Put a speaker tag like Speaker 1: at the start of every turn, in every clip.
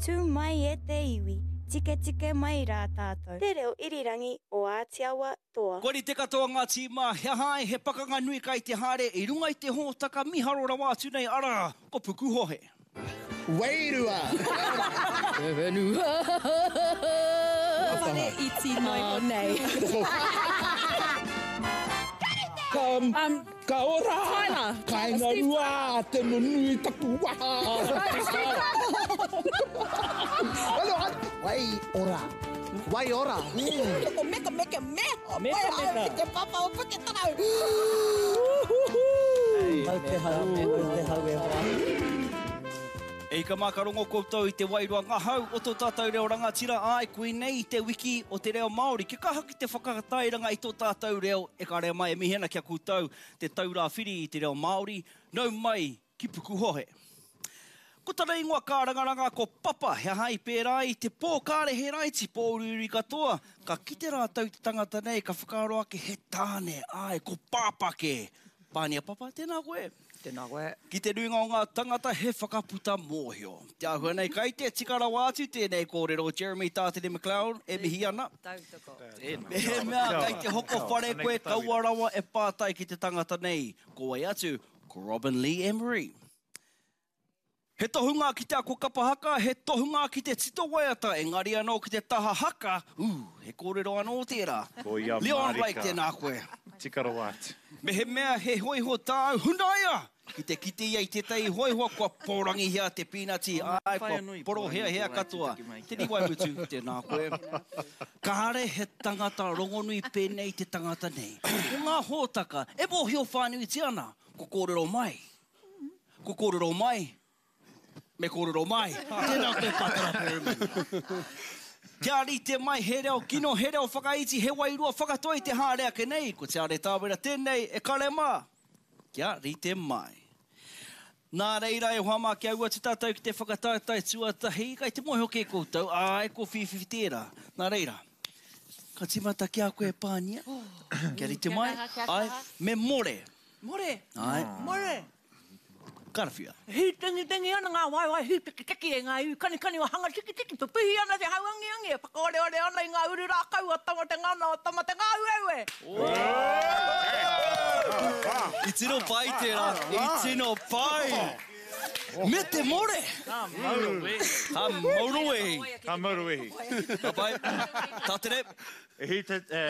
Speaker 1: Tū mai e te iwi, tiketike mai rā tātou. Te reo irirangi o Ātiawa Toa.
Speaker 2: Kua rite katoa ngā tīma, he aha ai he pakanga nui kai te haere i runga i te hōtaka miharo rawa atu nei arā, ko Pukuhohe.
Speaker 3: Wairua.
Speaker 4: Te whenua.
Speaker 5: Whare iti noiho nei.
Speaker 3: Ka, ka ora.
Speaker 5: Tyler.
Speaker 3: Kainga rua te nunui taku waha. Wai ora. Wai ora.
Speaker 5: Ko meka meka me.
Speaker 6: Meka meka.
Speaker 5: Ki te papa o Puketarau.
Speaker 6: Mau te hau, mau te hau e hoa.
Speaker 2: E ika mā ka rongo koutou i te wairua ngahau o tō tātou reo rangatira, āe, koinei te wiki o te reo Māori. Kia kaha ki te whakatairanga i tō tātou reo e kare mai e mihi ana ki a koutou te taura whiri i te reo Māori, nau mai ki Pukuhohe. Ko tana ingoa kārangaranga ko Papa, he aha i pērā ai i te pō kāre he raiti, pōuriuri katoa, ka kite rātou i te tangata nei ka whakaaro ake he tāne, āe, ko Pāpā kē. Pānia Papa, tēnā koe.
Speaker 6: Tēnā koe.
Speaker 2: Ki te nuinga o ngā tangata he whakaputa mōhio. Te āhua nei kai te tika rawa atu tēnei kōrero Jeremy Tātere McLeod e mihi ana.
Speaker 4: Tautoko.
Speaker 2: Mehemea kai te hoko whare koe kaua rawa e pātai ki te tangata nei, ko wai atu, ko Robin Lee Emery. He tohunga ki te ako kapa haka, he tohunga ki te tito waiata, engari anō ki te taha haka, ū, he kōrero anō tērā.
Speaker 7: Ko ia
Speaker 2: Leon Blake,
Speaker 7: mārika.
Speaker 2: tēnā koe.
Speaker 7: Tika rawa atu.
Speaker 2: Mehemea he hōiho tāu, hunaia! Ki te kite ia i tētahi hōiho kua pōrangihia te pīnati, āe, kua poroheahea katoa. Te Riwaimutu, tēnā koe. Kāre he tangata rongonui pēnei te tangata nei. Ko ngā hōtaka e mōhio whānuitia ana, ko kōrero mai. Ko kōrero mai, me kōrero mai. Tēnā koe Patara Perryman. Kia rite mai he reo kino, he reo whakaiti, he wairua whakatoi te haere ake nei, ko Te Are Tāwera tēnei e kare mā. Kia rite mai. Nā reira e hoa mā kia ū atu tātou ki te whakataetae tuatahi, kai te mōhio kē koutou, āe ko Whīwhiwhi tērā. Nā reira, ka tīmata ki a koe Pānia, kia rite mai, āe, me more.
Speaker 8: More.
Speaker 2: Āe.
Speaker 8: More.
Speaker 2: Karawhia.
Speaker 8: Hītengitengi ana ngā waewae hītekiteki e ngā iwi kanikani o Hangatikitiki, pupuhi ana te hauangiangi e whakaoreore ana i ngā uru rākau o Tama-te-ngana, o Tama-te-ngāueue.
Speaker 2: I tino pai tērā, i tino pai! Me te more!
Speaker 6: Ka mau wehi.
Speaker 2: Ka mau wehi.
Speaker 7: Ka mau wehi.
Speaker 2: Ka pai. Tātere.
Speaker 7: E hī te, e,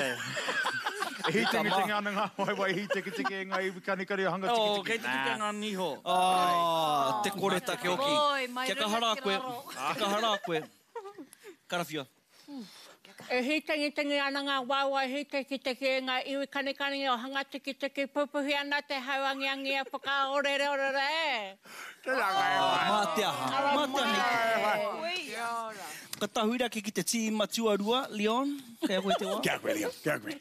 Speaker 7: e hītengitingi ana ngā waewae hītekitiki e ngā iwi kanikani o hanga tikitiki.
Speaker 6: Oh, kei te kite ngā niho.
Speaker 2: Ah, te koretake hoki.
Speaker 4: Oi, mai
Speaker 2: Kia kaha rā
Speaker 4: runga ki
Speaker 2: koe.
Speaker 4: raro.
Speaker 2: Kia kaha rā koe. Karawhiua.
Speaker 8: E hītengitingi ana ngā waewae hītekitiki e ngā iwi kanikani o hanga tikitiki, pupuhi ana te hau angiangi e whakaorereorere e.
Speaker 7: Tēnā koe e hoa.
Speaker 2: Mā te aha. Mā te aha i te. Ka tahuri ake ki te tīma tuarua, Leon, kei a koe te wā.
Speaker 3: Kia koe, Leon, kia koe.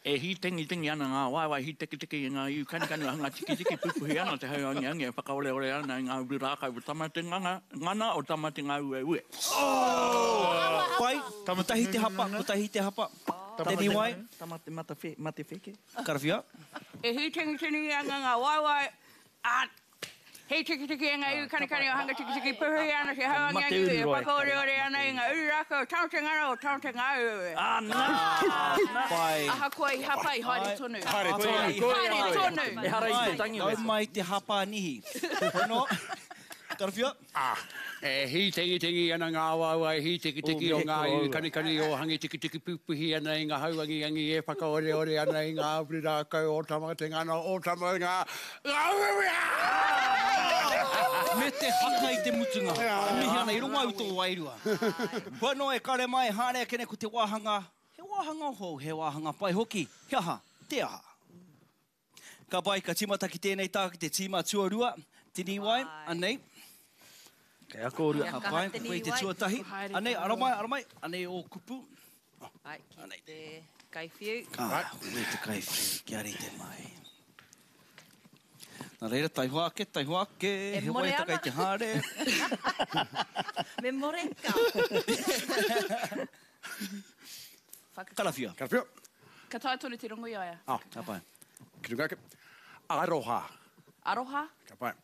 Speaker 9: E hītengitengi ana ngā waewae hītekiteki i ngā iu kanikani o hanga tikitiki, pupuhi ana te hau angiangi e whakaoreore ana i ngā uru rākau o Tama te nganga, ngana o Tama te ngāueue.
Speaker 2: Pai, kotahi te hapa, kotahi te hapa. Te Niwai.
Speaker 6: Tama te mata whe, mate wheke.
Speaker 2: Karawhia.
Speaker 8: E hītengitengi ana ngā waewae, ā, He tikitiki e ngā iwi kanikani o Hanga Tikitiki puhuhi ana te hau angiangi e whakaoreore ana i ngā uru rākau o Tama Te Ngana o Tama Te Ngāueue.
Speaker 2: Pai.
Speaker 8: Ahakoa i hapa i haere tonu.
Speaker 7: Haere tonu.
Speaker 8: Haere tonu.
Speaker 9: Ehara i te tangi
Speaker 2: Nau mai te hapa nihi. Hono. Karawhia.
Speaker 10: E hītengitengi ana ngā waewae hītekiteki o ngā iwi kanikani o Hangitikitiki pupuhi ana i ngā hau angiangi e whakaoreore ana i ngā uru rākau o Tama Te Ngana o Tama Ngā
Speaker 2: Me te haka i te mutunga. E mihi ana i rongo au tō wairua. Hua noa e kare mai, haere ake nei ko te wāhanga, he wāhanga hou, he wāhanga pai hoki. He aha? Te aha? Ka pai, ka tīmata ki tēnei tā ki te tīma tuarua, Tiniwai, anei.
Speaker 6: Kei a kōrua.
Speaker 2: Ka pai, ko koe te tuatahi. Anei, ara mai, ara mai, anei ō kupu.
Speaker 4: Ai, ki te kaiwhiu.
Speaker 2: Ah, koe te kaiwhiu, kia rite mai. Nā reira, taihoa ake, taihoa ake,
Speaker 4: E
Speaker 2: he
Speaker 4: more
Speaker 2: waiata
Speaker 4: ana.
Speaker 2: kei te haere.
Speaker 4: Me more ka.
Speaker 2: Karawhia.
Speaker 3: Karawhia.
Speaker 8: Ka taea tonu te rongo i a ia.
Speaker 3: Ah.
Speaker 2: Ka pai.
Speaker 3: Ki runga ake. Aroha.
Speaker 8: Aroha.
Speaker 3: Ka pai.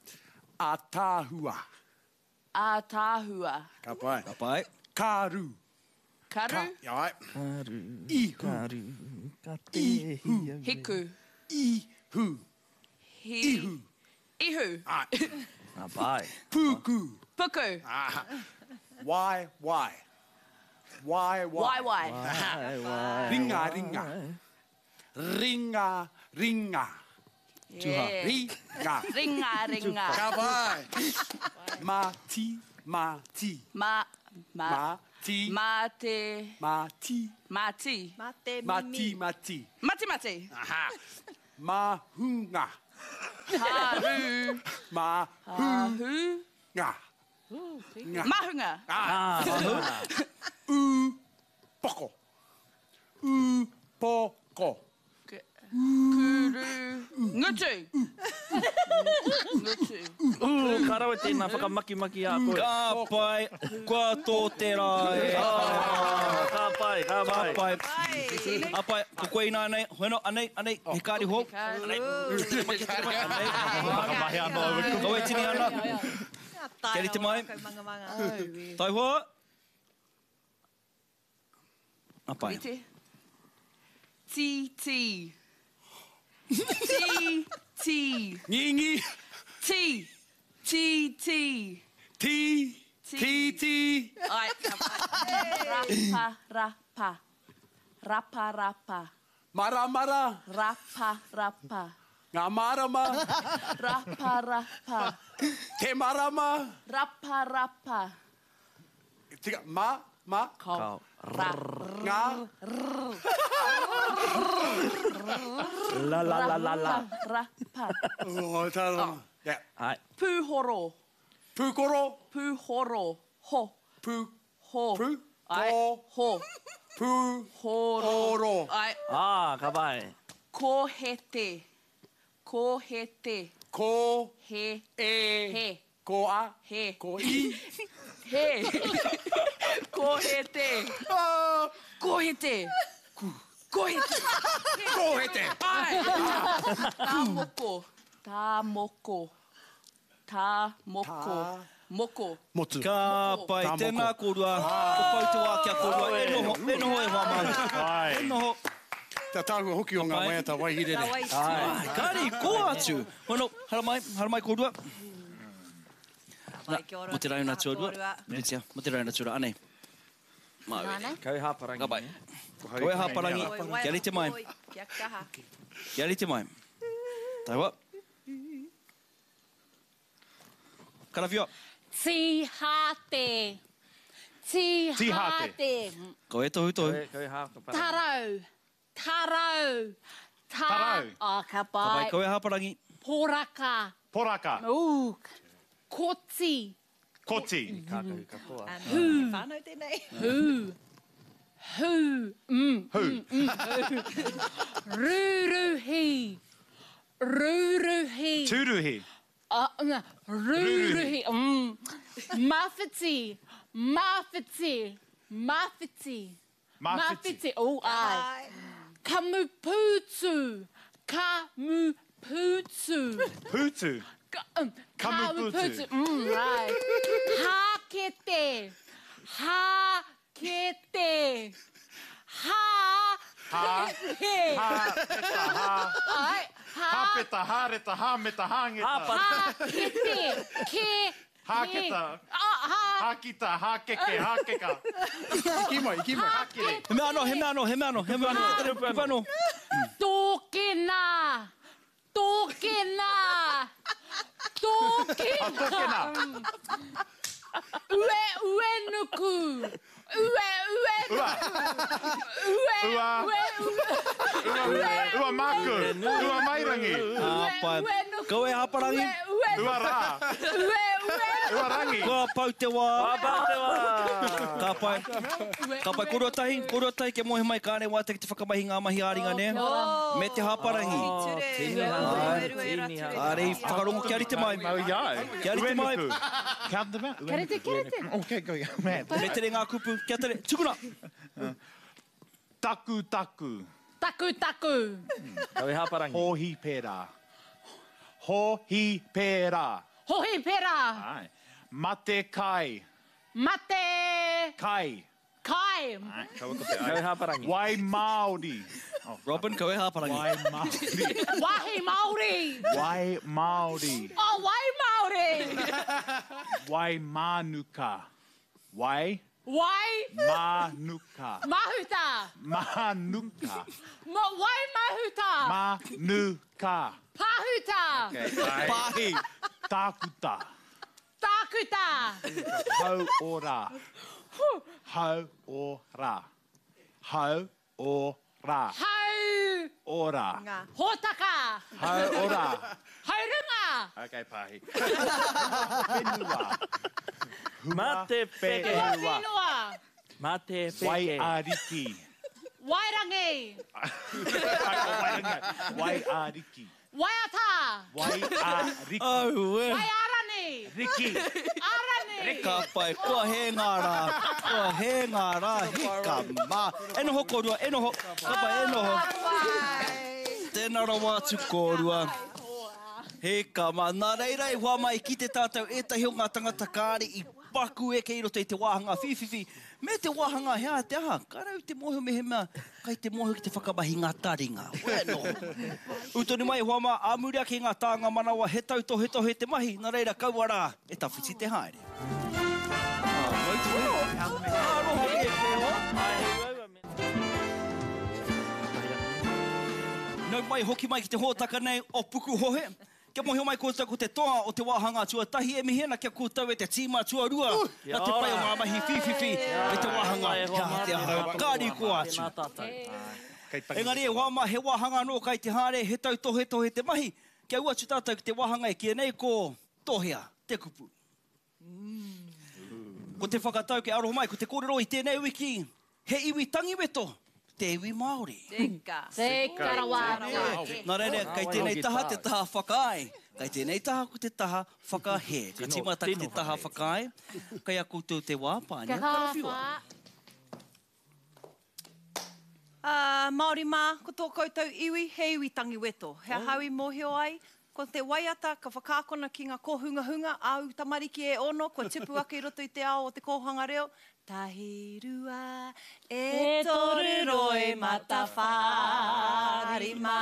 Speaker 3: Ataahua.
Speaker 8: Ātaahua.
Speaker 3: Ka pai.
Speaker 2: Ka pai.
Speaker 3: Karu.
Speaker 8: Karu.
Speaker 3: Ka, ai.
Speaker 6: Karu.
Speaker 3: Ihu.
Speaker 6: Karu. Ka te hi au.
Speaker 8: Hiku.
Speaker 3: Ihu.
Speaker 8: Hi.
Speaker 3: Ihu.
Speaker 8: Ihu.
Speaker 3: Ai.
Speaker 6: Ka pai.
Speaker 3: Puku.
Speaker 8: Puku.
Speaker 3: Ah. Wai, wai. Wai, wai.
Speaker 8: Wai, wai.
Speaker 6: Wai, wai.
Speaker 3: Ringa, ringa. Ringa, ringa.
Speaker 8: Yeah.
Speaker 3: Ringa.
Speaker 8: Ringa, ringa.
Speaker 3: Ka pai. Ma ti, ma ti.
Speaker 8: Ma, ma.
Speaker 3: Ma ti.
Speaker 8: Ma te.
Speaker 3: Ma ti.
Speaker 8: Ma ti.
Speaker 4: Ma te
Speaker 3: Ma
Speaker 4: mimi.
Speaker 3: ti, ma ti.
Speaker 8: Mati mati.
Speaker 3: Aha. Mahunga.
Speaker 8: Haru.
Speaker 3: Ma
Speaker 8: Hahu.
Speaker 3: nga. Nga.
Speaker 8: Mahunga.
Speaker 3: Ah. U poko. U poko.
Speaker 8: Kuru. Ngutu. Ngutu.
Speaker 6: Ū, ka rawe tēnā whakamakimaki a koe.
Speaker 2: Ka pai, kua tō te rā e.
Speaker 6: Ka pai, ka
Speaker 2: Ka
Speaker 6: pai.
Speaker 2: pai. Ka pai, ko koe ināianei, hono, anei, anei, he kāri hou. Anei, anei.
Speaker 7: Whakamahi anō aua kupu.
Speaker 2: Kawe tini ana. Kia rite mai. Taihoa. Ka pai.
Speaker 8: Rite. Ti, ti. Ti, ti.
Speaker 3: Ngingi.
Speaker 8: Ti. Ti, ti.
Speaker 3: Ti. Ti, ti.
Speaker 8: Ai, ka pai. Rapa, rapa. Rapa, rapa.
Speaker 3: Mara, mara.
Speaker 8: Rapa, rapa.
Speaker 3: Ngā marama.
Speaker 8: Rapa, rapa.
Speaker 3: Te marama.
Speaker 8: Rapa, rapa.
Speaker 3: Tika, ma, ma.
Speaker 8: Kao. Ra.
Speaker 3: Ngā.
Speaker 6: La, la, la, la, la.
Speaker 8: Rapa.
Speaker 3: Oh, tā Yeah.
Speaker 6: Ai.
Speaker 8: Pūhoro.
Speaker 3: Pūkoro.
Speaker 8: Pūhoro. Ho.
Speaker 3: Pū.
Speaker 8: Ho.
Speaker 3: Pū.
Speaker 8: Ai.
Speaker 3: Ko.
Speaker 8: Ho.
Speaker 3: Pū.
Speaker 8: Horo.
Speaker 3: Horo.
Speaker 8: Ai.
Speaker 6: Ah, ka pai.
Speaker 8: Kohete. Kohete.
Speaker 3: Ko.
Speaker 8: He.
Speaker 3: E.
Speaker 8: He.
Speaker 3: Ko a.
Speaker 8: He.
Speaker 3: Ko i.
Speaker 8: He. Kohete.
Speaker 3: Ah.
Speaker 8: Kohete. Kohete.
Speaker 3: Kohete.
Speaker 8: Ai. Tā moko. Tā moko. Tā moko.
Speaker 3: Tā.
Speaker 8: Moko.
Speaker 3: Motu.
Speaker 2: Ka pai,
Speaker 3: Tā moko.
Speaker 2: tēnā kōrua. Ko pau te wā kia kōrua. E noho, e noho e hoa māu.
Speaker 7: Ai.
Speaker 2: E noho.
Speaker 3: Te tāhua hoki o ngā
Speaker 2: Pai.
Speaker 3: waiata waihirere.
Speaker 2: Ai, kāri, kō atu. Hono, haramai, haramai kōrua.
Speaker 4: Pai, kia ora.
Speaker 2: Mo te rauna tuarua.
Speaker 4: Kōrua.
Speaker 2: Piritia, mo te rauna tuarua, anei. Māu e.
Speaker 4: Nānei.
Speaker 6: Kau hāparangi.
Speaker 2: Ka pai. Koe hāparangi,
Speaker 4: Oi,
Speaker 2: kia rite mai.
Speaker 4: oi, Kia kaha.
Speaker 2: Kia rite mai. Taihoa. Karawhio.
Speaker 5: Tihate. Tihate.
Speaker 2: Ko e tohu tohu.
Speaker 6: Kau hāparangi.
Speaker 5: Tarau. Tarau. Ta
Speaker 7: Tarau.
Speaker 5: Oh, ka
Speaker 2: Ka pai,
Speaker 5: pai.
Speaker 2: koe hāparangi.
Speaker 5: Poraka.
Speaker 7: Poraka.
Speaker 5: Ooh. Koti.
Speaker 7: Koti.
Speaker 6: Kākahu katoa.
Speaker 4: Hū. Whānau tēnei.
Speaker 5: Hū. Hū. Mm.
Speaker 7: Hū.
Speaker 5: Rūruhi. Rūruhi.
Speaker 7: Tūruhi.
Speaker 5: Rūruhi. Mawhiti. Mawhiti. Mawhiti.
Speaker 7: Mawhiti.
Speaker 5: Oh, ai. Kamupūtu. Kamupūtu.
Speaker 7: Pūtu. Kamupūtu.
Speaker 5: Kamupūtu. Ai. Hākete. Hākete. Ha.
Speaker 7: Ha.
Speaker 5: He.
Speaker 7: Ha. Peta, ha.
Speaker 5: Ai. Ha.
Speaker 7: Hāpeta, hāreta, hāmeta, hāngeta.
Speaker 5: Hākete. Ke.
Speaker 7: Hāketa.
Speaker 5: Ah, ha.
Speaker 7: Hākita, hākeke, hākeka.
Speaker 3: Ki mai, ki mai.
Speaker 7: Hākere.
Speaker 2: He mea anō, he mea anō, he mea anō, he mea anō. Kupu anō.
Speaker 5: Tōkena. Tōkena. Tōkena.
Speaker 7: Tōkena.
Speaker 5: Ue, ue nuku. Ue, ue
Speaker 7: Ua.
Speaker 5: Ue,
Speaker 7: Ua.
Speaker 5: ue, ue.
Speaker 7: Ua, ua māku. Ua mairangi.
Speaker 2: Ka pai.
Speaker 5: Ue, nuku.
Speaker 2: Koe hāparangi.
Speaker 5: Ue, ue,
Speaker 7: Ua rā.
Speaker 5: ue, ue.
Speaker 7: Ua rangi.
Speaker 2: Kua pau te wā.
Speaker 6: Ka pau te wā.
Speaker 2: Ka pai. Ka pai, kōrua tahi, kōrua tahi kia moe mai kāne wā te ki te whakamahi ngā mahi ā-ringa, nē? Me te hāparangi.
Speaker 4: Ture.
Speaker 6: Tini hanga.
Speaker 4: Ue, rue, ra,
Speaker 6: Tini
Speaker 4: ture.
Speaker 6: hanga.
Speaker 2: Kāre i whakarongo kia rite mai.
Speaker 7: Mau iau.
Speaker 2: Kia rite mai.
Speaker 7: Uenuku. Count them out.
Speaker 5: Kia rite, kia rite.
Speaker 7: Okay, go, yeah, man.
Speaker 2: Me tere ngā kupu. Kia tere. Tukuna.
Speaker 7: Taku, taku.
Speaker 5: Taku, taku.
Speaker 6: Kau hāparangi.
Speaker 7: Hohi pērā. Hohi pērā.
Speaker 5: Hohi pērā.
Speaker 7: Ai. Mate kai.
Speaker 5: Mate.
Speaker 7: Kai.
Speaker 5: Kai.
Speaker 7: Kaua ko te ai. Kau
Speaker 6: hāparangi.
Speaker 7: Wai Māori. Oh.
Speaker 2: Robin, kau e hāparangi.
Speaker 7: Wai Māori.
Speaker 5: Wahi Māori.
Speaker 7: Wai Māori.
Speaker 5: Oh, wai Māori.
Speaker 7: Wai Mānuka. Wai.
Speaker 5: Wai.
Speaker 7: Mānuka.
Speaker 5: Mahuta.
Speaker 7: Mānuka.
Speaker 5: Ma, wai Mahuta.
Speaker 7: Mānuka.
Speaker 5: Pahuta.
Speaker 7: Okay. Pahi. Tākuta.
Speaker 5: Tākuta.
Speaker 7: Hau ora. Hau ora. Hau ora.
Speaker 5: Hau.
Speaker 7: Ora.
Speaker 5: Hōtaka.
Speaker 7: Hau ora.
Speaker 5: Haurunga.
Speaker 7: Okay, Pahi. Whenua.
Speaker 6: Mate peke.
Speaker 5: Whenua.
Speaker 6: Mate peke.
Speaker 7: Wai ariki.
Speaker 5: Wairangi.
Speaker 7: Wai ariki.
Speaker 5: Waiata.
Speaker 7: Wai ariki.
Speaker 2: Aue.
Speaker 5: Waiarani.
Speaker 7: Riki.
Speaker 5: Arani.
Speaker 2: Ka pai, kua hē ngā rā, kua hē ngā rā, hika mā. E noho kōrua, e noho, ka pai, e noho. Tēnā rawa atu kōrua. Hika mā. Nā reira i hoa mai ki te tātou ētahi o ngā tangata kāre i paku eke i roto i te wāhanga whīwhiwhi, me te wāhanga he aha te aha, ka rau te mōhio mehemea kai te mōhio ki te whakamahi ngā taringa. Wē noho. Ū tonu mai e hoa mā, ā muri ake i ngā tānga manawa he tautohetohe te mahi, nā reira kaua rā e tawhiti te haere. Aroha ki e koe hoa. Nau mai, hoki mai ki te hōtaka nei o Pukuhohe. Kia mōhio mai koutou ko te toa o te wāhanga tuatahi e mihi ana ki a koutou e te tīma tuarua nā te pai o ngā mahi whīwhiwhi me te wāhanga he aha te aha ka rikoa atu. Engari e hoa mā he wāhanga anō kai te haere he tautohetohe te mahi kia ū atu tātou ki te wāhanga e kīia nei ko Tohea te kupu. Ko te whakatau kia aroha mai ko te kōrero i tēnei wiki he iwi tangiweto te iwi Māori.
Speaker 4: Tika.
Speaker 5: Tika rawa atu.
Speaker 2: Nā reira, kei tēnei taha te taha whakaae, kei tēnei taha ko te taha whakahē. Ka tīmata ki te taha whakaae, kei a koutou te wā, Pānia, karawhiua.
Speaker 4: Ā, Māori mā, ko tō koutou iwi, he iwi tangiweto. He aha au i mōhio ai? Ko te waiata ka whakaakona ki ngā kōhungahunga, āu tamariki e ono kua tupu ake i roto i te ao o te kōhanga reo, Tahi, rua, e toru roimata, whā, rima.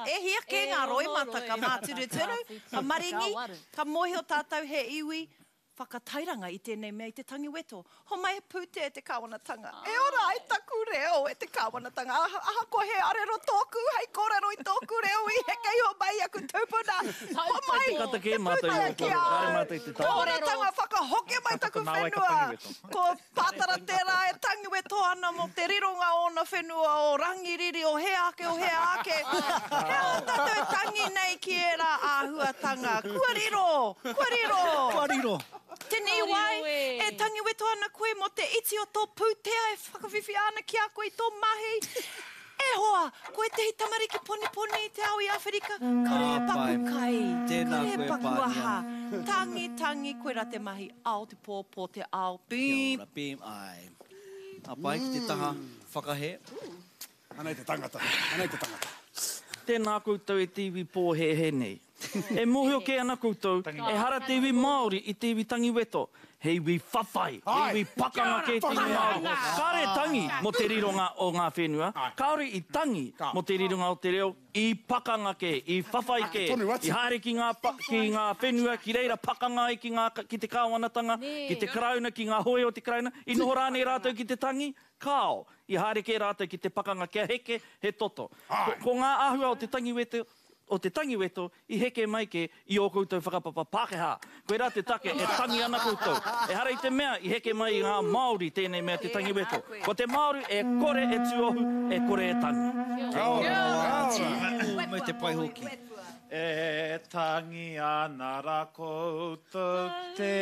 Speaker 4: E hia kē ngā roimata ka māturuturu, ka maringi, ka mōhio tātou he iwi whakatairanga i tēnei mea i te tangi weto. Homai he pūtea e te kāwanatanga. E ora ai taku reo e te kāwanatanga. Ahakoa he arero tōku hei kōrero i tōku reo i heke iho mai i aku tūpuna. Homai he pūtea ki a au. Kāwanatanga whakahokia mai taku whenua. Ko Pātara tērā e tangi weto ana mō te rironga o ōna whenua o Rangiriri, o hea ake, o hea ake. He aha tātou e tangi nei ki ērā āhuatanga? Kua riro! Kua riro!
Speaker 2: Kua riro!
Speaker 4: Tini wai, e tangi weto ana koe mō te iti o tō pūtea e whakawhiwhia ana ki a koe i tō mahi. E hoa, ko ētehi tamariki poniponi i te ao i Āwherika, kare e paku kai, kare e paku aha. Tangi, tangi, koirā te mahi, ao te pō, pō te ao, beep.
Speaker 2: Kia ora, beep, āe. Ka pai ki te taha whakahē.
Speaker 10: Anei te tangata, anei te tangata.
Speaker 6: Tēnā koutou e te iwi pōhēhē nei. E mōhio kē ana koutou, ehara te iwi Māori i te iwi tangiweto. He iwi whawhai, he iwi pakanga kē te iwi Māori. Kāre tangi mō te rironga o ngā whenua, kāore i tangi mō te rironga o te reo, i pakanga kē, i whawhai kē, i haere ki ngā, ki ngā whenua, ki reira pakanga ai ki ngā, ki te kāwanatanga, ki te Karauna, ki ngā hōia o te Karauna, i noho rānei rātou ki te tangi? Kāo, i haere kē rātou ki te pakanga kia heke he toto. Ko, ko ngā āhua o te tangiweto, o te tangiweto i heke mai kē i ō koutou whakapapa Pākehā. Koirā te take e tangi ana koutou. Ehara i te mea i heke mai i ngā Māori tēnei mea te tangiweto. Ko te Māori e kore e tuohu, e kore e tangi.
Speaker 2: Kia ora rawa atu, me te pai hoki.
Speaker 7: E tangi ana ra koutou te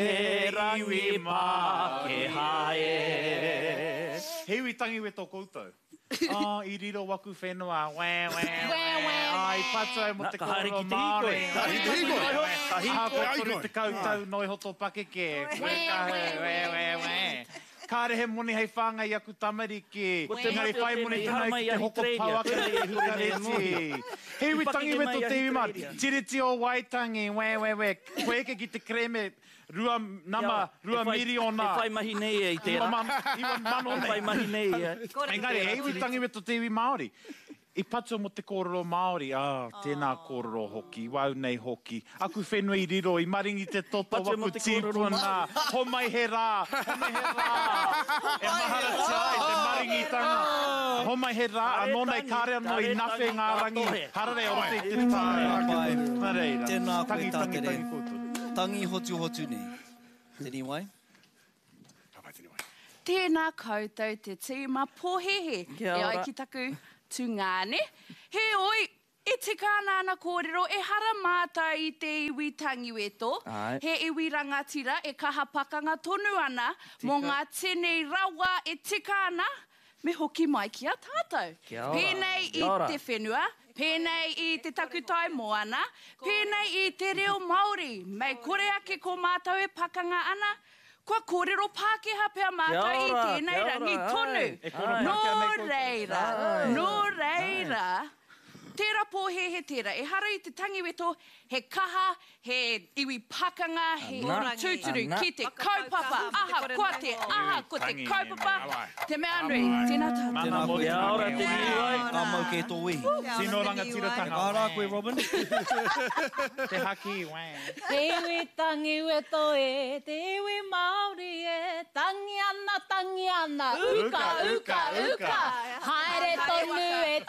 Speaker 7: iwi Pākehā e. He iwi tangiweto koutou. Oh, i riro waku whenua, wē, wē, wē. Oh, i patu au mo te kōrero Māori. Ka hīkoi. Ahakoa 30 tau noa iho tō pakeke. Wē, wē, wē, wē. Kāre he moni hei whāngai i aku tamariki.
Speaker 6: Ko te
Speaker 7: Engari
Speaker 6: mate o
Speaker 7: whai moni
Speaker 6: tēnei, i
Speaker 7: tonu ai
Speaker 6: haramai
Speaker 7: ki
Speaker 6: i
Speaker 7: te hoko
Speaker 6: Ahitereiria,
Speaker 7: pau ake
Speaker 6: tērā
Speaker 7: i
Speaker 6: i kore nei e
Speaker 7: Hikareti.
Speaker 6: mōhio.
Speaker 7: He
Speaker 6: I
Speaker 7: iwi
Speaker 6: pakeke
Speaker 7: tangiweto
Speaker 6: mai i
Speaker 7: te iwi Māori.
Speaker 6: Ahitereiria.
Speaker 7: Tiriti o Waitangi, wē, wē, wē. Kua eke ki te kerēme rua nama,
Speaker 6: Kia ora.
Speaker 7: rua
Speaker 6: E whai,
Speaker 7: miriona.
Speaker 6: e whai mahi nei ia i tērā.
Speaker 7: 9000
Speaker 6: E
Speaker 7: nei.
Speaker 6: whai mahi nei ia.
Speaker 7: Engari, he iwi tangiweto te iwi Māori. I patua mō te kōrero Māori, ā, tēnā kōrero hoki, wāu nei hoki. Aku whenua i riro, i maringi te toto,
Speaker 6: Patua mō
Speaker 7: waku
Speaker 6: te kōrero
Speaker 7: tīpuna,
Speaker 6: Māori.
Speaker 7: homai he rā, homai he rā, e maharatia ai te maringitanga. Homai he rā, anō nei kāre anō i nawhe ngā rangi hararei o roto i te tai. Nā reira,
Speaker 2: Tēnā koe
Speaker 7: tangi, tangi,
Speaker 2: Tātere.
Speaker 7: tangi koutou.
Speaker 2: Tangi hotuhotu nei. Te Niwai.
Speaker 5: Tēnā koutou te tīma pōhēhē,
Speaker 6: Kia
Speaker 5: e ai
Speaker 6: ora.
Speaker 5: ki taku tungāne. Heoi, e tika ana ana kōrero, ehara mātou i te iwi tangiweto,
Speaker 6: Āe.
Speaker 5: he iwi rangatira e kaha pakanga tonu ana mō
Speaker 6: Tika.
Speaker 5: ngā tini rawa e tika ana me hoki mai ki a tātou.
Speaker 6: Kia ora.
Speaker 5: Pēnei i
Speaker 6: Kia ora.
Speaker 5: te whenua, pēnei i te takutai moana, pēnei i te reo Māori, mei kore ake ko mātou e pakanga ana, Kua kōrero Pākehā pea mātou i tēnei rangi tonu. Nō reira, nō reira, tērā pōhēhē tērā. Ehara i te tangiweto, he kaha, he iwi pakanga, he iwi tūturu ki te kaupapa, ahakoa te aha, ko te kaupapa te mea nui. Tēnā tātou.
Speaker 2: Tēnā koe.
Speaker 6: Kia ora te Niwai.
Speaker 2: Ka mau kē tō wehi.
Speaker 7: Tino rangatiratanga.
Speaker 2: Ka rā koe Robin.
Speaker 7: Te haki, wē.
Speaker 11: Te iwi tangi weto e, te iwi Māori e, tangi ana, tangi ana, uka, uka, uka, haere tonu e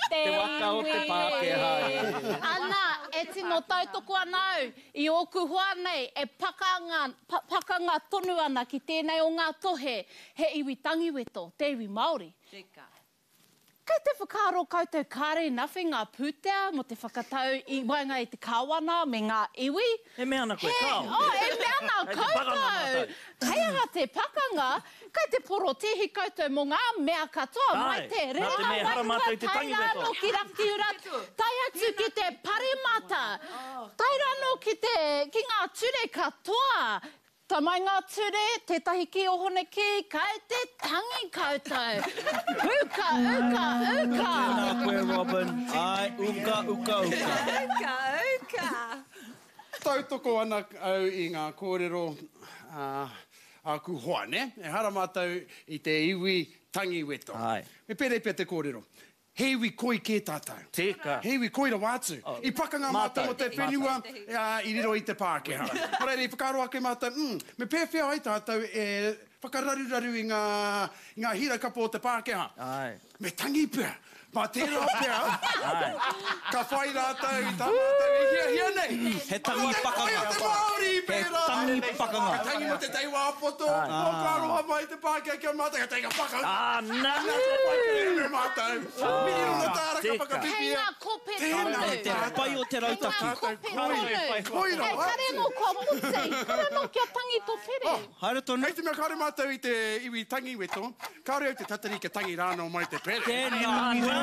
Speaker 11: te
Speaker 6: Te waka o te
Speaker 11: iwi
Speaker 6: Pākehā
Speaker 11: e.
Speaker 6: e.
Speaker 11: Ana, e tino tautoko ana au i ōku hoa nei e pakanga, pakanga tonu ana ki tēnei o ngā tohe, he iwi tangiweto, te iwi Māori.
Speaker 4: Tika.
Speaker 11: Kei te whakaaro koutou kāre nothing ngā pūtea mō te whakatau i waenga i te kāwana me ngā iwi?
Speaker 6: E mea ana koe,
Speaker 11: He,
Speaker 6: kāo.
Speaker 11: oh, e mea ana
Speaker 6: Kei te pakanga
Speaker 11: koutou!
Speaker 6: mātou.
Speaker 11: Hei aha te pakanga? Kei te porotēhi koutou mō ngā mea katoa, mai
Speaker 6: Āe,
Speaker 11: te
Speaker 6: nā te
Speaker 11: rerenga
Speaker 6: mea ehara
Speaker 11: wairua
Speaker 6: mātou i te
Speaker 11: tae
Speaker 6: tangi
Speaker 11: rā
Speaker 6: weto.
Speaker 11: anō ki Rakiura, tae atu ki te paremata, tae rā anō ki te, ki ngā ture katoa. Ta mai ngā ture, tētahi ki ohone ki, kai te tangi koutou. Uka, uka, uka!
Speaker 2: Tēnā koe Robin. Āe, uka, uka, uka.
Speaker 4: Uka, uka!
Speaker 10: Tautoko ana au i ngā kōrero a āku hoa, nē? Ehara mātou i te iwi tangiweto.
Speaker 6: Āe.
Speaker 10: Me pērei pea te kōrero. He iwi koi kē tātou.
Speaker 6: Tika.
Speaker 10: He iwi koi rawa atu. I pakanga mātou mō te whenua i riro i te Pākehā. Nō reira, i whakaaro ake mātou, mm, me pēwhea ai tātou e whakararuraru i ngā, i ngā hira kapo o te Pākehā?
Speaker 6: Āe.
Speaker 10: Me tangi pea. Mā tērā pea, ka whai rātou i tā mātou e hiahia nei.
Speaker 2: He tangi pakanga.
Speaker 10: Ko te koi o te Māori i
Speaker 2: He
Speaker 10: pērā.
Speaker 2: tangi pakanga.
Speaker 10: Ka tangi mō te tei wā poto, oh, ka aroha mai te Pākehā ki a mātou, ka tangi ka pakanga.
Speaker 6: Āna!
Speaker 10: Nā, ka whai kerēme me mātou. Miriona tāra ka
Speaker 6: Tika.
Speaker 11: Hei
Speaker 10: whakawhiwhia.
Speaker 11: ngā kope
Speaker 10: Tēnā
Speaker 11: tonu.
Speaker 2: Te pai o te
Speaker 11: Hei ngā
Speaker 2: rautaki.
Speaker 11: kope tonu.
Speaker 10: Koi rawa
Speaker 11: Hei kare
Speaker 10: atu.
Speaker 11: anō kua moti, kare anō kia tangi tō pere.
Speaker 2: Haere tonu.
Speaker 10: Hei te mea kāore mātou i te iwi tangi weto, kāore au te tatari kia tangi rānō mai te pere.
Speaker 2: Tēnā koe.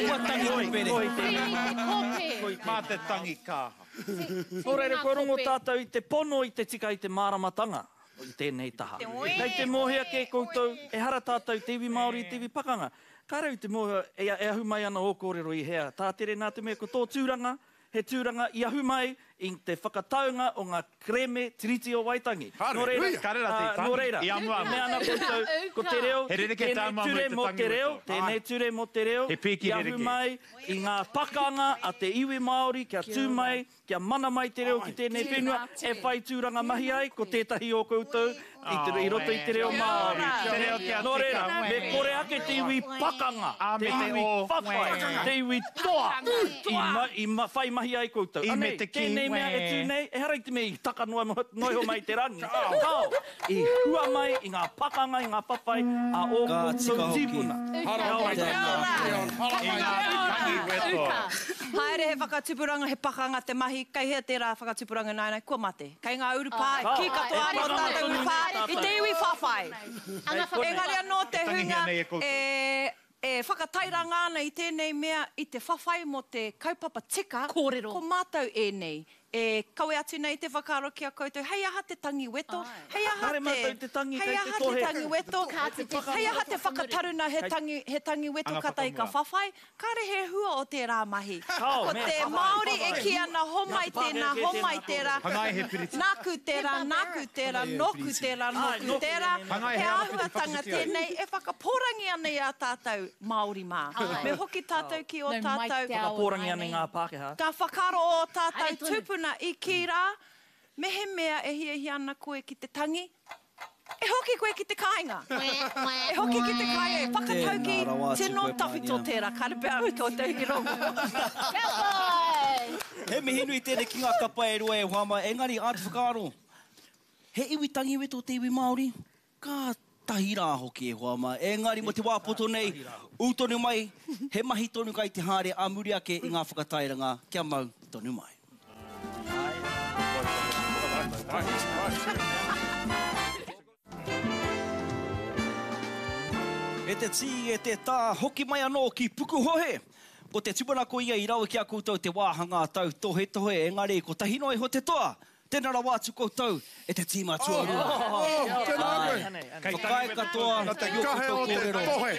Speaker 2: Kua tangi te pere.
Speaker 11: Tini te kope.
Speaker 7: Mā te tangi kaha.
Speaker 6: Nō reira, kua rongo tātou i te pono, i te tika, i te māramatanga i tēnei taha. Kei te mōhio kē koutou, ehara tātou te iwi Māori i te iwi pakanga. Kāre au te mōhio e ahu mai ana ō kōrero i hea. Tātere nā te mea ko tō tūranga, he tūranga i ahu mai i te whakataunga o ngā kerēme Tiriti o Waitangi. Nō reira,
Speaker 7: Kāre rā te
Speaker 6: nō reira,
Speaker 7: tangi. I amuamu.
Speaker 6: mea ana koutou, ko te reo,
Speaker 7: He rerekē
Speaker 6: tēnei
Speaker 7: tā amuamu
Speaker 6: ture
Speaker 7: i te
Speaker 6: mō
Speaker 7: tangi
Speaker 6: te reo,
Speaker 7: weto.
Speaker 6: tēnei ture mō te reo,
Speaker 7: He pīki
Speaker 6: i ahu
Speaker 7: rerekē.
Speaker 6: mai i ngā pakanga a te iwi Māori kia tū mai, kia mana mai te reo ki tēnei whenua, e whai tūranga mahi ai, ko tētahi o koutou i, te, i roto i te reo Māori.
Speaker 7: Te reo kia
Speaker 6: Nō reira,
Speaker 7: tika.
Speaker 6: me kore ake te iwi pakanga, te
Speaker 7: me te
Speaker 6: iwi
Speaker 7: o.
Speaker 6: whawhai, te iwi toa, i, ma, i ma, whai mahi ai koutou.
Speaker 7: I me
Speaker 6: Anei,
Speaker 7: te ki,
Speaker 6: tēnei mea e tū
Speaker 7: wē.
Speaker 6: nei, ehara i te mea i taka noa, noa iho mai te rangi. Kao, i hua mai i ngā pakanga, i ngā whawhai a ō
Speaker 2: Ka tika
Speaker 6: koutou
Speaker 2: hoki.
Speaker 6: tīpuna.
Speaker 7: I ngā tangi weto.
Speaker 4: Haere he whakatupuranga, he pakanga te mahi, kei hea tērā whakatupuranga nāianei, kua mate. Kei ngā urupā, kī katoa
Speaker 6: E
Speaker 4: anō
Speaker 6: pakanga
Speaker 4: tātou
Speaker 6: tonu
Speaker 4: urupā,
Speaker 6: nei
Speaker 4: i te
Speaker 6: tātou.
Speaker 4: iwi whawhai.
Speaker 6: Engari
Speaker 4: Engari anō te
Speaker 7: E tangihia
Speaker 4: hunga
Speaker 7: nei e koutou.
Speaker 4: e, e whakatairanga ana i tēnei mea i te whawhai mō te kaupapa tika,
Speaker 11: Kōrero.
Speaker 4: ko mātou ēnei. E kawe atu nei te whakaaro ki a koutou, hei aha te tangi weto, hei aha
Speaker 6: Kāre
Speaker 4: te,
Speaker 6: mātou i te tangi,
Speaker 4: hei
Speaker 6: kei te
Speaker 4: aha te
Speaker 6: tohe.
Speaker 4: tangi weto, hei aha te whakataruna he tangi, he tangi weto
Speaker 7: Anga
Speaker 4: katahi ka
Speaker 7: whakamua.
Speaker 4: whawhai, kāre he hua o tērā mahi.
Speaker 6: Kao,
Speaker 4: Ko
Speaker 6: me
Speaker 4: te
Speaker 6: whawhai,
Speaker 4: Māori e
Speaker 6: whawhai.
Speaker 4: kī ana homai tēnā, homai tērā,
Speaker 7: Hangai he piriti.
Speaker 4: nāku tērā, nāku tērā, nōku tērā, nōku
Speaker 6: nōku
Speaker 4: tērā,
Speaker 6: tēnei,
Speaker 7: Hangai
Speaker 4: he
Speaker 7: he arawhiti
Speaker 4: āhuatanga
Speaker 7: whakawhiti ai.
Speaker 4: tēnei e whakapōrangi ana i a tātou Māori mā. Me hoki tātou ki ō
Speaker 11: Nau mai
Speaker 4: tātou.
Speaker 11: te ao
Speaker 6: Whakapōrangi ana i
Speaker 11: nāianei.
Speaker 6: ngā Pākehā.
Speaker 4: Ka whakaaro ō tātou
Speaker 11: Haere tonu.
Speaker 4: tūpuna i kī rā, mehemea e hiahia ana koe ki te tangi, e hoki koe ki te kāinga. E hoki ki te kāinga, e whakatauki,
Speaker 2: Tēnā rawa atu
Speaker 4: tino
Speaker 2: koe,
Speaker 4: tawhito
Speaker 2: Pānia.
Speaker 4: tērā, kāre pea au koutou i rongo.
Speaker 11: Kia pai!
Speaker 2: He mihi nui tēnei ki ngā kapa e rua e hoa mai, engari āta whakaaro, he iwi tangiweto te iwi Māori? Kātahi rā hoki e hoa mā. Engari mō te wā poto nei, ū tonu mai, he mahi tonu kai te haere ā muri ake i ngā whakatairanga kia mau tonu mai. E te tī, e te tā, hoki mai anō ki Pukuhohe! Ko te tūmanako ia i rawe ki a koutou te wāhanga tautohetohe, engari kotahi noa iho te toa, Tēnā rawa atu koutou e te tīma tuarua.
Speaker 10: Tēnā koe.
Speaker 2: Whakaae katoa
Speaker 10: Nā te
Speaker 2: ki ō
Speaker 10: kahe
Speaker 2: koutou
Speaker 10: o te
Speaker 2: kōrero.
Speaker 10: tohe,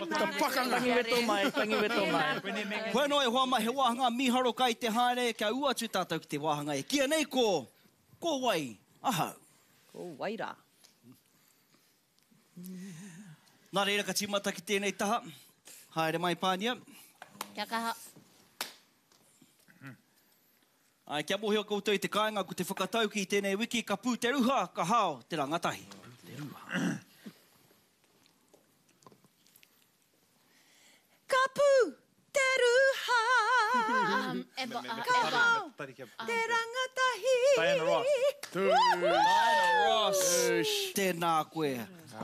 Speaker 10: te pakanga.
Speaker 6: Tangi weto mai, tangi weto mai.
Speaker 2: Hoi anō e hoa mai, he wāhanga mīharo kai te haere, kia ū atu tātou ki te wāhanga e kīia nei ko, Ko wai ahau?
Speaker 4: Ko wai rā?
Speaker 2: Nā reira ka tīmata ki tēnei taha. Haere mai Pānia.
Speaker 11: Kia kaha.
Speaker 2: Āe, kia mōhio koutou i te kāinga ko te whakatauki i tēnei wiki ka pū te ruha, ka hao te rangatahi. Te ruha.
Speaker 4: Ka pū te ruha, ka hao te rangatahi.
Speaker 7: Diana Ross.
Speaker 2: Diana Ross. Tēnā koe.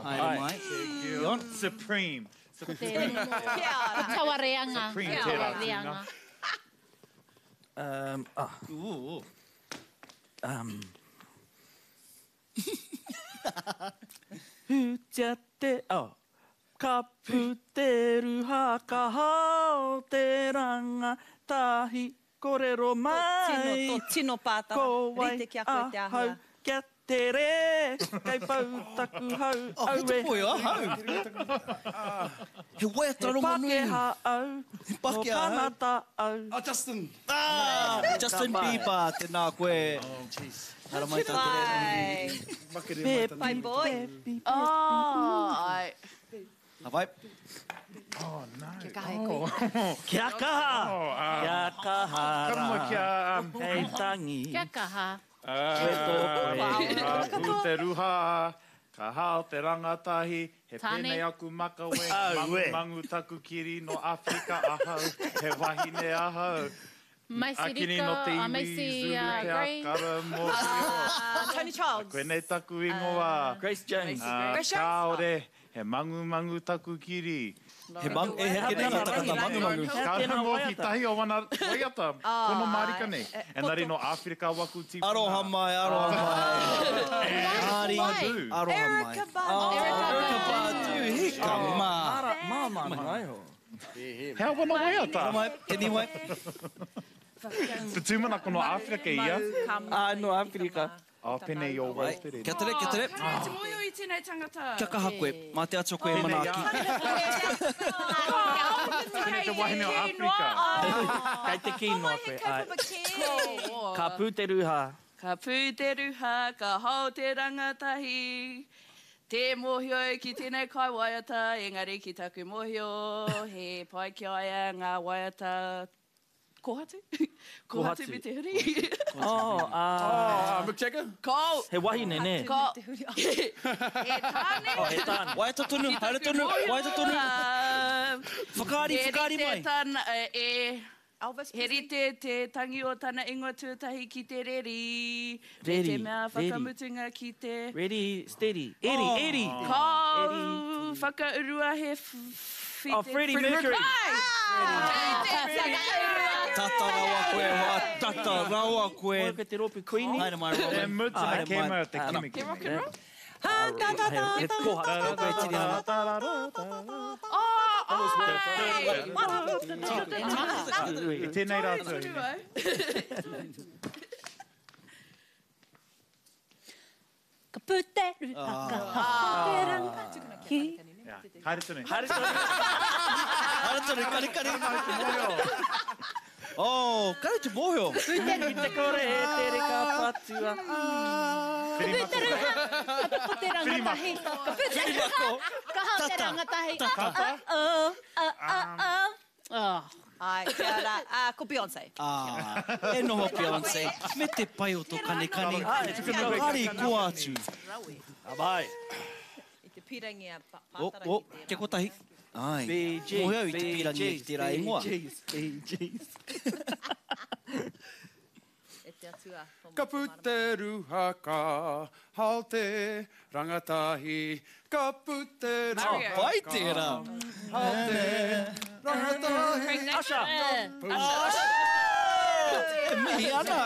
Speaker 2: Haere mai. Dion.
Speaker 7: Supreme.
Speaker 11: Ko taua reanga.
Speaker 7: Supreme tērā tūnga.
Speaker 6: Um, ah.
Speaker 2: Ooh.
Speaker 6: Um. Hutia te, oh. Ka pu te ruha, ka hao te ranga, tahi korero mai.
Speaker 4: Tō tino, tō tino pātara.
Speaker 6: Ko wai
Speaker 4: Rite ki a koe te āhua.
Speaker 6: ahau kia tere, kei pau taku hau,
Speaker 2: Oh, he
Speaker 6: aue.
Speaker 2: te poi ahau. He waiata rongonui.
Speaker 6: He Pakeha au,
Speaker 2: He
Speaker 6: no
Speaker 2: Pakeha au.
Speaker 6: Kanata au.
Speaker 3: Oh, Justin.
Speaker 2: Ah, Justin Bieber, tēnā koe.
Speaker 3: Oh, jeez.
Speaker 2: Haramai tā te reo.
Speaker 3: Makere mai tana.
Speaker 4: Bye boy.
Speaker 5: Oh, ai.
Speaker 2: Ka pai.
Speaker 7: Oh, no.
Speaker 4: Kia kaha e koe.
Speaker 6: Kia kaha! Kia kaha
Speaker 7: Ka mua
Speaker 6: rā.
Speaker 7: kia...
Speaker 6: Hei tangi.
Speaker 11: Kia kaha.
Speaker 7: Ka pū te ruha, ka hao te rangatahi, he
Speaker 11: Tāne.
Speaker 7: pēnei aku makawe, mangumangu taku kiri no Āwherika ahau, he wahine ahau.
Speaker 11: Macy
Speaker 7: Akini
Speaker 11: Rika,
Speaker 7: no te iwi,
Speaker 11: Macy
Speaker 7: Zulu te
Speaker 11: Gray.
Speaker 7: akara mōhio.
Speaker 4: Tony Childs.
Speaker 7: Koinei taku ingoa.
Speaker 6: Grace Jones.
Speaker 4: Grace Jones?
Speaker 7: Kāore, he mangumangu taku kiri.
Speaker 2: He mang, e heke nei ngā takata mangumangu.
Speaker 7: Ka noho ki tahi o wana waiata, pono mārika nei. Engari no Āwherika waku tīpuna.
Speaker 2: Aroha mai, aroha mai. Ari, aroha mai.
Speaker 4: Erykah Badu.
Speaker 2: Erykah Badu, hika mā.
Speaker 6: Māmā noa iho.
Speaker 7: He aha wana waiata?
Speaker 2: Haere mai, te niwai.
Speaker 7: Te tūmanako no Āwherika ia.
Speaker 6: Ā, no Āwherika.
Speaker 7: Oh, penei o Waitere.
Speaker 2: Kia tere, kia tere.
Speaker 5: Kāre te mōhio i tēnei tangata.
Speaker 2: Kia kaha koe, mā te Atua koe e manaaki.
Speaker 7: Penei te wahine o Āwherika.
Speaker 6: Kei te kī noa koe, āe. Ka pū te ruha.
Speaker 5: Ka pū te ruha, ka hao te rangatahi. Tē mōhio au ki tēnei kaiwaiata, engari ki taku mōhio, he pai ki a ia ngā waiata Kohatu? Kohatu me te huri.
Speaker 6: Oh, ā.
Speaker 10: Oh, Mick Jagger?
Speaker 5: Ko.
Speaker 6: He wahine, nē?
Speaker 5: Ko. He tāne.
Speaker 6: Oh, he tāne.
Speaker 2: Waiata tonu, haere tonu, waiata tonu. Whakaari, whakaari mai.
Speaker 5: He rite tana, e,
Speaker 4: Elvis
Speaker 5: he rite te tangi o tana ingoa tuatahi ki te reri. Me
Speaker 6: Reri,
Speaker 5: te mea
Speaker 6: reri.
Speaker 5: whakamutunga ki te.
Speaker 6: Ready, steady. Eri, eri.
Speaker 5: Ko whakaurua he
Speaker 6: Oh, Freddie Mercury.
Speaker 2: Tata rawa koe, hoa, tata rawa koe.
Speaker 6: Moe koe te rōpū Queenie.
Speaker 2: Haere mai, Robin.
Speaker 7: E mutu na kēma te kimi
Speaker 5: Te rock and roll?
Speaker 2: He koha, koe tiri ana.
Speaker 7: I tēnei rā tau.
Speaker 12: Ka pu te ruha ka hao te rangatahi.
Speaker 7: Haere tonu.
Speaker 6: Haere tonu.
Speaker 2: Haere tonu, karekare. Oh, kare te mōhio.
Speaker 6: Ki te kore e te reka patua.
Speaker 12: Ka pu te ruha, ka pu te rangatahi. Ka pu te ruha, ka hao te rangatahi.
Speaker 7: Tata.
Speaker 12: Oh, oh, oh, oh, oh.
Speaker 4: Ai, kia ora. Ah, ko Beyonce.
Speaker 2: Ah, e noho Beyonce, me te pai o to kanikani. Hari koa atu.
Speaker 6: Ka pai.
Speaker 4: I te pirangi a
Speaker 2: Oh,
Speaker 4: Pātara
Speaker 2: oh,
Speaker 4: ki tērā.
Speaker 2: kia kotahi. Ai,
Speaker 6: Bee Gees,
Speaker 2: mōhio au i te pirangi ki tērā ingoa.
Speaker 6: Bee Gees, Bee Gees.
Speaker 4: E te atua. tō
Speaker 10: Ka pu te ruha ka hao te rangatahi. Ka pu te ruha
Speaker 2: Oh, pai tērā.
Speaker 10: hao te rangatahi.
Speaker 6: Asha.
Speaker 10: Ka pu
Speaker 2: E mihi ana.